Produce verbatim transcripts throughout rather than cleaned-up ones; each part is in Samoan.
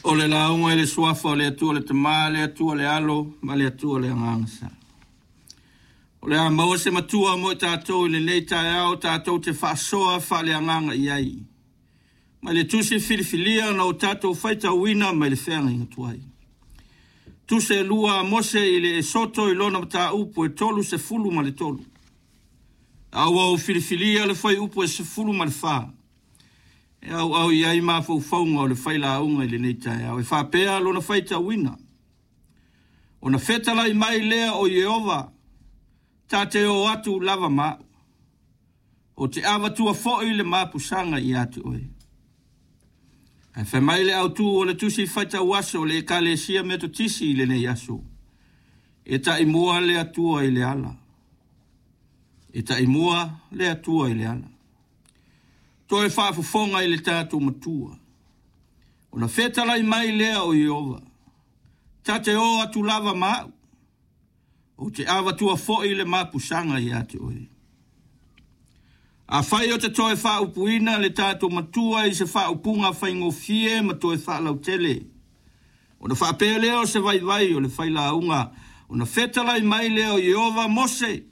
O le lauga i le suafa o le Atua le Tama, le Atua le Alo, ma le Atua le Agaga Sa. O le a maua se matua mo i tatou i lenei taeao tatou te faasoa faaleagaga i ai. Mai le tusi filifilia na o tatou faitauina mai le feagaiga tuai. Tusi e lua a Mose i le Esoto i lona mataupu e tolu sefulu ma le tolu. A ua ou filifilia le fuaiupu e sefulu ma le fa. E auau i ai mafaufauga o le failauga i lenei taeao. E faapea lona faitauina. Ona fetalai mai lea o Ieova, ta te o atu lava ma au. O te avatua foi le mapusaga ia te oe. Ae fai mai le autu o le tusi faitau aso o le Ekalesia Metotisi i lenei aso. E taimua le Atua i le ala. E taimua le Atua i le ala. Toe faafofoga i le tatou matua. Ona fetalai mai lea o Ieova, ta te o atu lava ma au. O te avatua foi le mapusaga ia te oe. Afai o te toe faaupuina le tatou matua i se faaupuga faigofie ma toe faalautele. Ona faapea lea o se vaivai o le failauga, ona fetalai mai lea o Ieova Mose,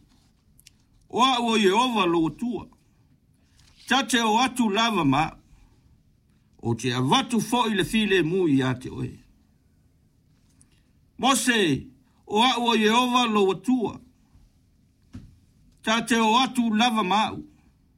o au o Ieova lou Atua. Ta te o atu lava ma au. O te avatu foi le filemu ia te oe. Mose, o au o Ieova lou Atua. Ta te o atu lava ma au.